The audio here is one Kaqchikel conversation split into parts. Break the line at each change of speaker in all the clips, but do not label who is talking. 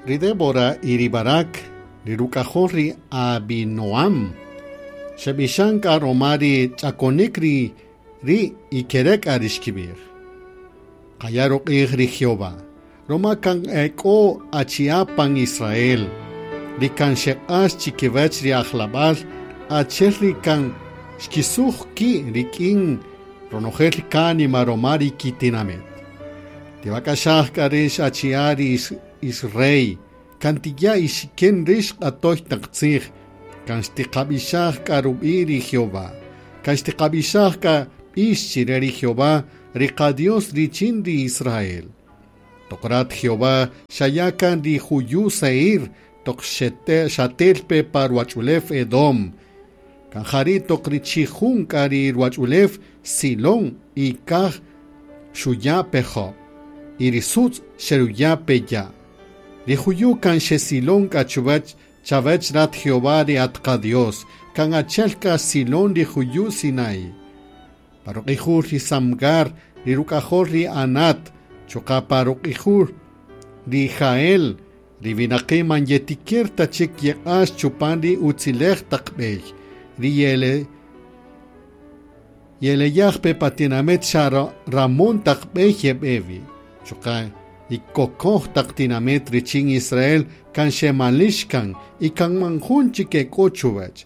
Ri Débora y ri Barak, ri ruk'ajol ri Abinoam, xeb'ixan k'a ruma ri ch'akonik ri ri y kere' k'a ri xkib'ij. Qaya' ruq'ij ri Jehová, ruma kan e k'o achi'a' pan Israel, ri kan xeq'ax chikiwäch ri ajlab'al achi'el ri kan xkisuj ki' rik'in ronojel kánima ruma ri kitinamit. Tiwak'axaj k'a rix achi'a' ri Israel, kan tiya' ixikin rix q'atoy taq tzij, kan xtiqab'ixaj k'a rub'i' ri Jehová, kan xtiqab'ixaj k'a b'ix chire ri Jehová, ri qa-Dios richin ri Israel. Toq rat Jehová xaya' kan ri juyu' Seir toq xatel pe pa ruwach'ulew Edom, kan jari' toq ri chijun k'a ri ruwach'ulew Silón y kaj xuya' pe jöb', y ri sutz' xeruya' pe ya'. Ri juyu' kan xesilon k'a chuwäch chawäch rat Jehová ri at qa-Dios, kan achi'el k'a silon ri juyu' Sinaí. Pa ruq'ijul ri Samgar, ri ruk'ajol ri Anat, chuqa' pa ruq'ijul ri Jael, ri winaqi' man yetikir ta chik yeq'ax chupan ri utziläj taq b'ey, ri ye'eleyaj pe pa tinamït xa ramon taq b'ey yeb'e wi. Chuqa' y kokoj taq tinamït richin Israel kan xemalïx kan y kan man jun chik e k'o chuwäch.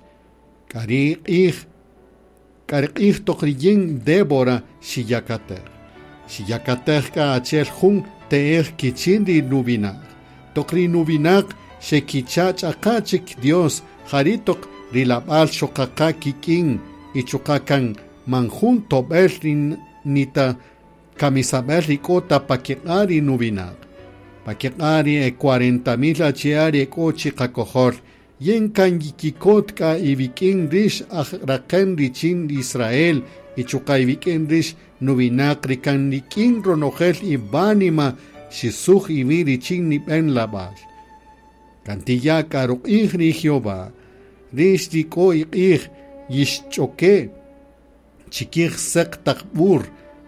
K'a ri q'ij k'a ri q'ij toq riyin Débora xiyakatej. Xiyakatej k'a achi'el jun te'ej kichin ri nuwinaq. Toq ri nuwinaq xekicha' ch'aqa' chik Dios, jari' toq ri lab'al xoqaqa kik'in y chuqa' kan man jun tob'el ri nita kamisab'äl ri k'o ta pa kiq'a' ri nuwinaq. Pa kiq'a' ri e 40,000 achi'a' ri e k'o chi qakojol, yin kan yikikot k'a iwik'in rix aj raqen richin Israel y chuqa' iwik'in rix nuwinaq ri kan rik'in ronojel iwánima xisuj iwi' richin nib'en lab'al. Kan tiya' k'a ruq'ij ri Jehová, rix ri k'o iq'ij yixch'oke' chikij säq taq b'ur,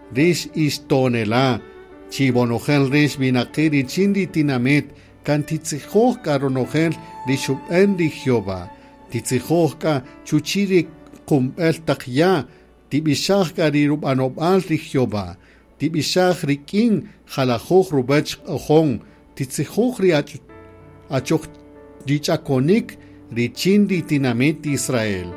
rix ixtonela', chiwonojel rix winaqi' richin ri tinamït, kan titzijoj k'a ronojel ri xub'än ri Jehová, titzijoj k'a chuchi' ri qumb'äl taq ya', tib'ixaj k'a ri rub'anob'al ri Jehová, tib'ixaj rik'in jalajoj ruwäch q'ojon, titzijoj ri achoj ri ch'akonik richin ri tinamït Israel.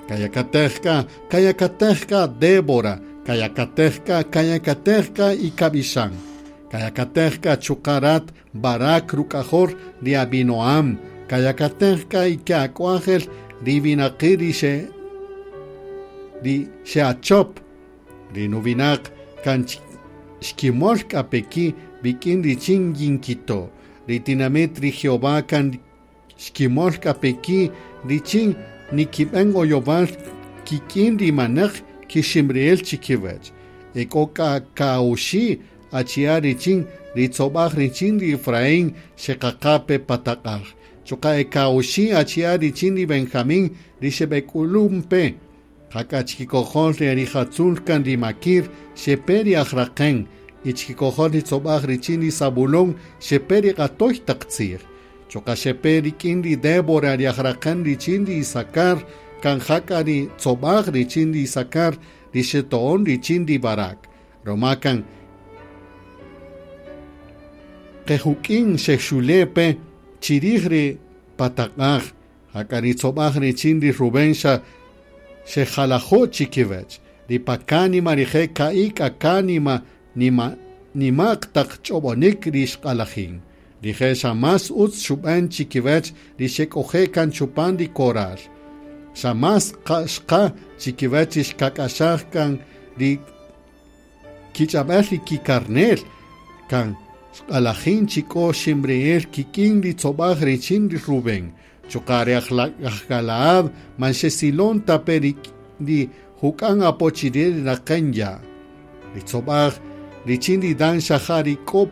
Kayakatej k'a, kayakatej k'a Débora, kayakatej k'a, kayakatej k'a y kab'ixan. Kayakatej k'a chuqa' rat Barak ruk'ajol ri Abinoam, kayakatej k'a y ke'ak'wajel ri winaqi' ri xe ri xe'achop. Ri nuwinaq kan xkimöl k'a pe ki' wik'in richin yinkito'. Ri tinamït ri Jehová kan xkimöl k'a pe ki' richin nikib'än oyowal kik'in ri manäq kiximri'ïl chikiwäch. E k'o k'a ka'oxi' achi'a' richin ri tzob'aj richin ri Efraín xeqaqa pe pa taq'aj. Chuqa' e ka'oxi' achi'a' richin ri Benjamín ri xeb'ek'ulun pe. Jak'a chikikojol ri rijatzul kan ri Maquir xepe ri aj-raqen, y chikikojol ri tzob'aj richin ri Zabulón xepe ri q'atoy taq tzij. Chuqa' xepe rik'in ri Débora ri aj-raqen richin ri Isacar, kan jak'a ri tzob'aj richin ri Isacar ri xeto'on richin ri Barac. Ruma kan qejuk'in xexule' pe chirij ri pa taq'aj, jak'a ri tzob'aj richin ri Rubén xa xejalajo' chikiwäch. Ri pa kánima rije' ka'i' k'a kánima nima nima'q taq ch'ob'onik ri xq'alajin. Rije' xa más utz xub'än chikiwäch ri xek'oje' kan chupan ri koral. Xa más xqa chikiwäch ri xkak'axaj kan ri kich'ab'äl ri kikarne'l, kan xq'alajin chi k'o ximri'ïl kik'in ri tzob'aj richin ri Rubén. Chuqa' ri aj Galaad man xesilon ta pe ri juk'an apo chire ri raqen ya'. Ri tzob'aj richin ri Dan xa ja ri k'o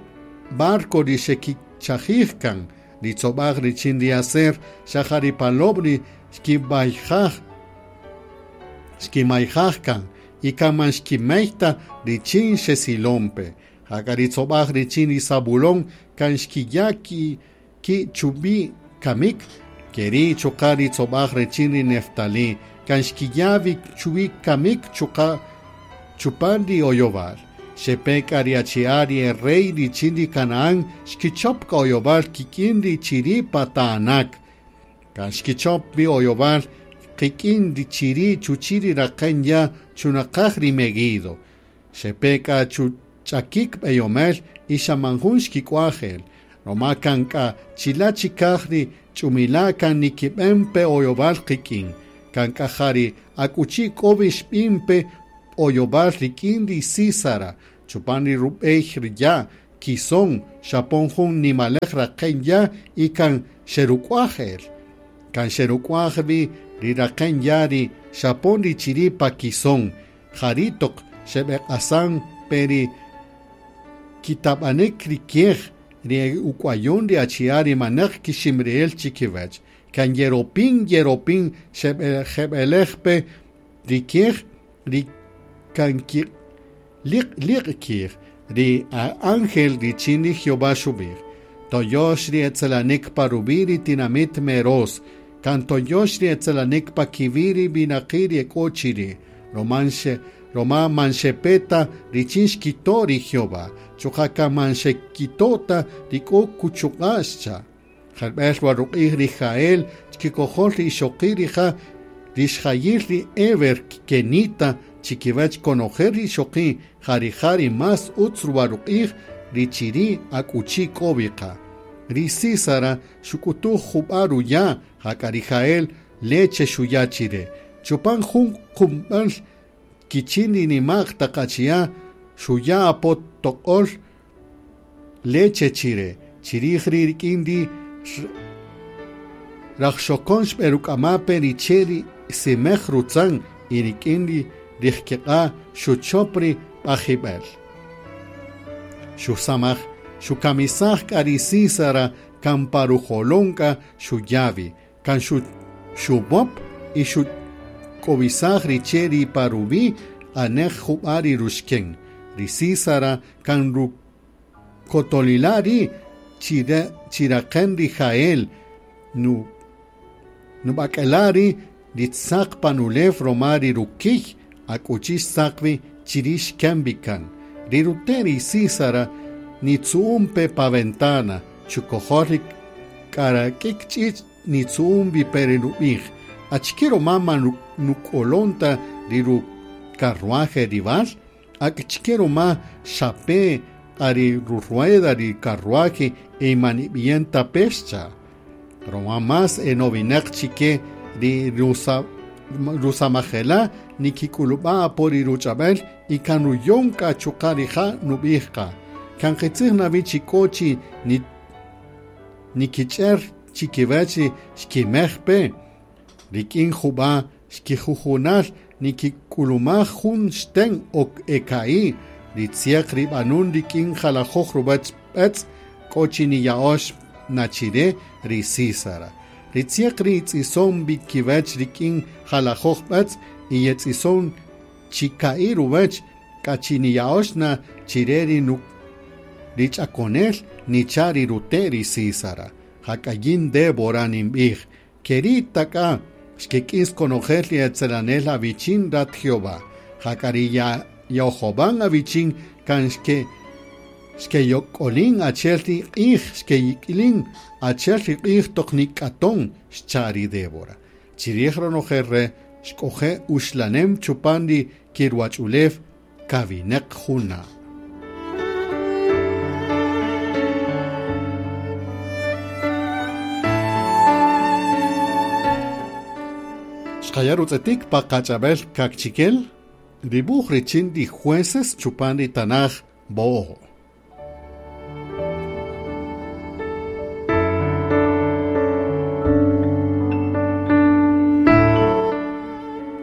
barco ri xekichajij kan, ri tzob'aj richin ri Aser xa ja ri palob' ri xkimayjaj kan y kan man xkimey ta richin xesilon pe. Jak'a ri tzob'aj richin ri Zabulón kan xkiya' ki chubi kamik, keri chuqa ri tzobaj richin ri Neftali, kan xkiya wi chuwi kamik chuqa chupan ri oyobal. Xepeka ri achi'a ri e rey richin ri Canaán, xkichop ka oyobal kik'in ri chiri pa Taanac. Kan xkichop wi oyobal kik'in ri chiri chuchi ri raqen ya' chunaqaj ri Meguido. Xepeka chuch'akik b'eyomel y xa man jun xkik'waj el. Roma kan k'a chila' chikaj ri ch'umila' kan nikib'en pe oyobal qik'in. Kan k'a ja ri akuchi k'o wi xb'in pe oyobal rik'in ri Sísara, chupan ri rub'ey ri ya' Quisón, xapon jun nimalej raqen ya' y kan xeruk'waj el. Kan xeruk'waj wi ri raqen ya' ri xapon ri chiri' pa Quisón, jari' toq xeb'eq'asan pe ri kitab'anik ri kiej, ri uk'wayon ri achi'a' ri manaq kiximri'el chikiwach. Kan yeropin yeropin xeb'elej pe ri kiej, ri kan ki liq liq kiej, ri ángel richin ri Jehová xub'ij. Toyox ri etzelanik pa ruwi' ri tinamit Meroz, kan toyox ri etzelanik pa kiwi' ri winaqi' ri e k'o chiri', roma man xepe ta richin xkito' ri Jehová, chuqa' kan man xekito' ta ri k'o kuchuq'a' xcha'. Jarb'el wa ruq'ij ri Jael chkikojol ri ixoqi' rija' rixjayil ri Eber kenita chikiwach konojel ri ixoqi' ja rija' ri más utz ruwa ruq'ij ri chiri' akuchi k'o wi qa. Ri Sísara xuk'utuj jub'a' ruya' jak'a ri Jael leche xuya' chire. Chupan jun qumb'äl kichin ri nima'q taq achi'a' xuya' apo toq'ol leche chire. Chirij ri rik'in ri rajxokon xb'eruk'ama pe ri che' ri simej rutzan y rik'in ri rijkiq'a' xuchop ri b'ajib'el. Xusamaj xukamisaj k'a ri Sísara kan pa rujolon k'a xuya' wi, kan xub'op y xuk'owisaj ri che' ri pa ruwi' anej jub'a' ri ruxken. Ri Sísara kan rukotolila' ri' chiraqen ri Jael, nub'ak'ela' ri' ri tzaq pan ulew roma ri rukiy akuchi xtzaq wi chiri' xken wi kan. Ri rute' ri Sísara nitzu'un pe pa ventana, chukojol ri k'arak'ik ch'ich' nitzu'un wi pe ri nub'ij. Achike roma man nuk'olon ta ri rucarruaje rival? Achike roma xape ri rurueda ri carruaje e man ib'ien ta pe xcha'. Roma más enowinaq chike ri rusamajela nikik'ulub'a apo ri ruch'ab'el y kan ruyon k'a chuqa' rija' nub'ij qa. Kan qitzij na wi chi k'o chi nikich'er chikiwach ri xkimej pe. Rik'in jub'a' xkijujunal nikik'ulumaj jun xten o eka'i, ri tziaq ri b'anun rik'in jalajoj ruwach b'etz k'o chi niya'ox na chire ri Sísara. Ri tziaq ri tz'ison wi kiwach rik'in jalajoj b'etz y yetz'ison chika'i ruwach k'a chi niya'ox na chire ri ri ch'akonel nicha' ri rute' ri Sísara. Jak'a yin Débora ninb'ij, keri' ta k'a xkek'is konojel ri etzelanel awichin rat Jehová. Jak'a ri yaojob'an awichin kan xkeyok'olin achi'el ri q'ij, xkeyik'ilin achi'el ri q'ij toq nik'aton, xcha' ri Débora. Chirij ronojel re' xk'oje' uxlanem chupan ri kiruwach'ulew kawineq juna'. Xqaya' rutz'etik pa qach'ab'el kakchikel, dibuj richin ri jueces chupan ri tanaj Bo'o.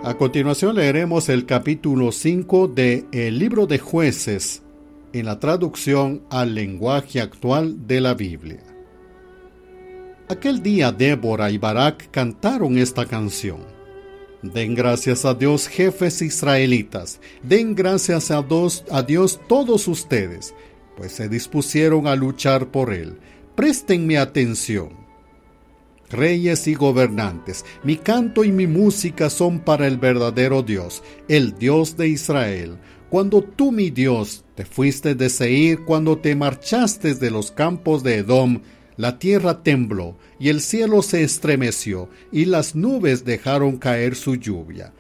A continuación leeremos el capítulo 5 de el libro de Jueces en la traducción al lenguaje actual de la Biblia. Aquel día Débora y Barak cantaron esta canción. Den gracias a Dios, jefes israelitas, den gracias a Dios todos ustedes, pues se dispusieron a luchar por él. Préstenme atención. Reyes y gobernantes, mi canto y mi música son para el verdadero Dios, el Dios de Israel. Cuando tú, mi Dios, te fuiste de Seir, cuando te marchaste de los campos de Edom, la tierra tembló y el cielo se estremeció y las nubes dejaron caer su lluvia.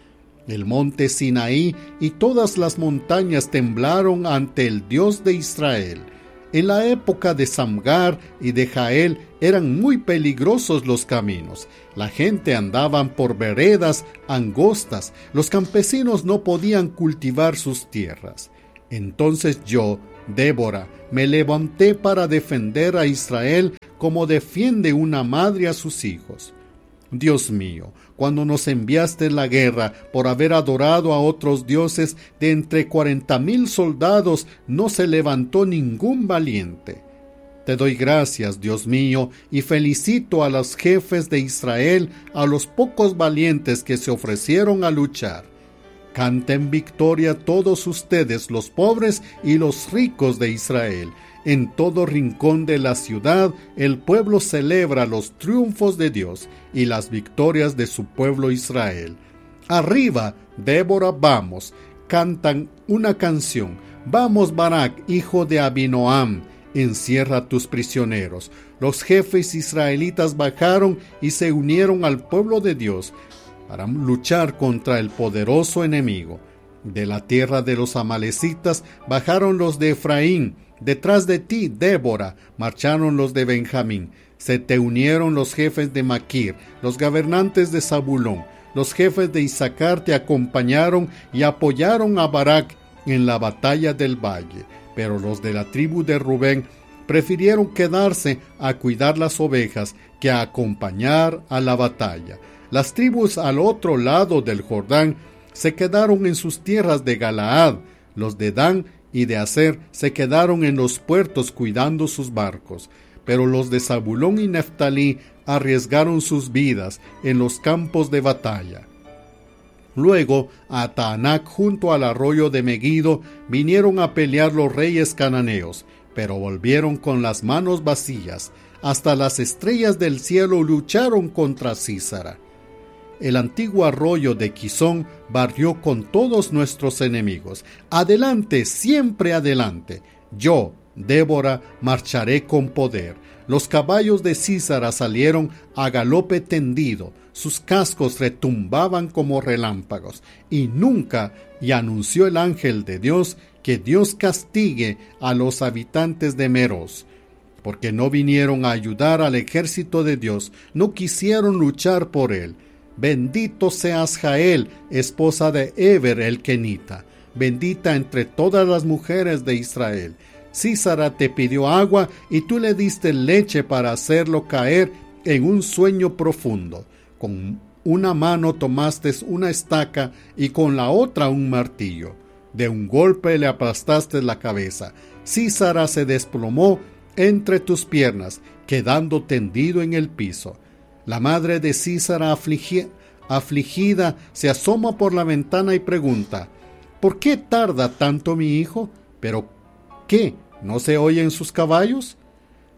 El monte Sinaí y todas las montañas temblaron ante el Dios de Israel. En la época de Samgar y de Jael eran muy peligrosos los caminos. La gente andaba por veredas angostas. Los campesinos no podían cultivar sus tierras. Entonces yo, Débora, me levanté para defender a Israel como defiende una madre a sus hijos. Dios mío, cuando nos enviaste la guerra por haber adorado a otros dioses, de entre 40,000 soldados no se levantó ningún valiente. Te doy gracias, Dios mío, y felicito a los jefes de Israel, a los pocos valientes que se ofrecieron a luchar. Canten victoria todos ustedes, los pobres y los ricos de Israel. En todo rincón de la ciudad, el pueblo celebra los triunfos de Dios y las victorias de su pueblo Israel. Arriba, Débora, vamos, cantan una canción. Vamos, Barak, hijo de Abinoam, encierra a tus prisioneros. Los jefes israelitas bajaron y se unieron al pueblo de Dios para luchar contra el poderoso enemigo. De la tierra de los amalecitas bajaron los de Efraín. Detrás de ti, Débora, marcharon los de Benjamín. Se te unieron los jefes de Maquir, los gobernantes de Zabulón. Los jefes de Isacar te acompañaron y apoyaron a Barak en la batalla del valle. Pero los de la tribu de Rubén prefirieron quedarse a cuidar las ovejas que a acompañar a la batalla. Las tribus al otro lado del Jordán se quedaron en sus tierras de Galaad. Los de Dan y de Aser se quedaron en los puertos cuidando sus barcos. Pero los de Zabulón y Neftalí arriesgaron sus vidas en los campos de batalla. Luego, a Taanac, junto al arroyo de Meguido, vinieron a pelear los reyes cananeos, pero volvieron con las manos vacías. Hasta las estrellas del cielo lucharon contra Sísara. El antiguo arroyo de Quisón barrió con todos nuestros enemigos. Adelante, siempre adelante. Yo, Débora, marcharé con poder. Los caballos de Sísara salieron a galope tendido. Sus cascos retumbaban como relámpagos. Y nunca, y anunció el ángel de Dios, que Dios castigue a los habitantes de Meroz, porque no vinieron a ayudar al ejército de Dios, no quisieron luchar por él. Bendito seas Jael, esposa de Eber el Kenita, bendita entre todas las mujeres de Israel. Sísara te pidió agua y tú le diste leche para hacerlo caer en un sueño profundo. Con una mano tomaste una estaca y con la otra un martillo. De un golpe le aplastaste la cabeza. Sísara se desplomó entre tus piernas, quedando tendido en el piso. La madre de Sísara, afligida, se asoma por la ventana y pregunta: ¿Por qué tarda tanto mi hijo? ¿Pero qué? ¿No se oyen sus caballos?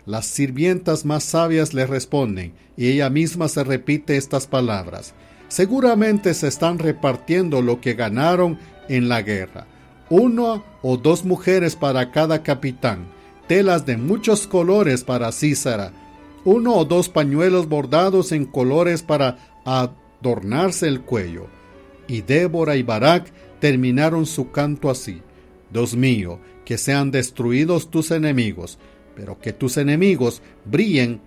Las sirvientas más sabias le responden, y ella misma se repite estas palabras: Seguramente se están repartiendo lo que ganaron en la guerra. 1 o 2 mujeres para cada capitán, telas de muchos colores para Sísara, 1 o 2 pañuelos bordados en colores para adornarse el cuello. Y Débora y Barak terminaron su canto así: Dios mío, que sean destruidos tus enemigos, pero que tus enemigos brillen,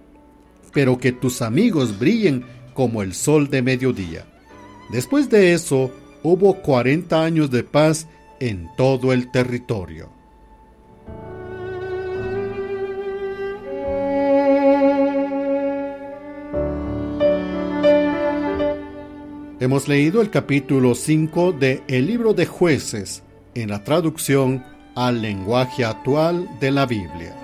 pero que tus amigos brillen como el sol de mediodía. Después de eso, hubo 40 años de paz en todo el territorio. Hemos leído el capítulo 5 de El libro de Jueces en la traducción al lenguaje actual de la Biblia.